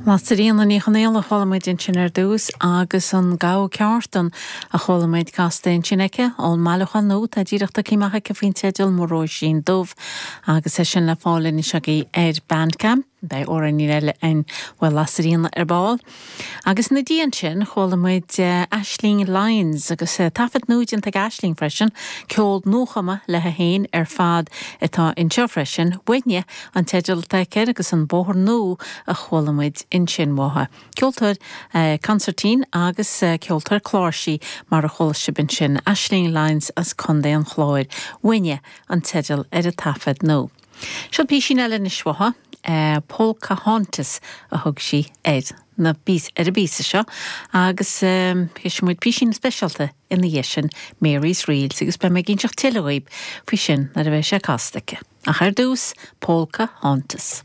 Lasairfhíona Ní Chonaola a chuala muid ansin ar dtús agus an Gabha Ceártan a chuala muid casta ansin aici ón mbailiúchán nua atá díreach tugtha amach aici faoin teideal Mo Róisín Dubh agus é sin le fáil anois agaibh ar Bandcamp. Beidh amhráinín eile againn ó Lasairfhíona ar ball. Agus ina diaidh ansin, chuala muid Aisling Lyons, agus taifead nua déanta ag Aisling freisin, ceol nuachumtha léi féin ar fad atá anseo freisin, Uaithne an teideal atá aici air agus An Bóthar Nua a chuala muid ansin uaithi. Ceoltóir consairtín agus ceoltóir cláirsí mar a chuala sibh ansin, Aisling Lyons as Contae an Chláir. Uaithne an teideal ar an taifead nua. Seo písín eile anois uaithi, Polcahauntas a thug sí ar na ar an bpíosa seo agus cloisfidh muid písín speisialta ina dhiaidh sin, Mary's Reels agus beidh mé ag inseacht tuilleadh dhaoib faoi sin nuair a bheidh sé casta aici. Ach ar dtús, Polcahauntas.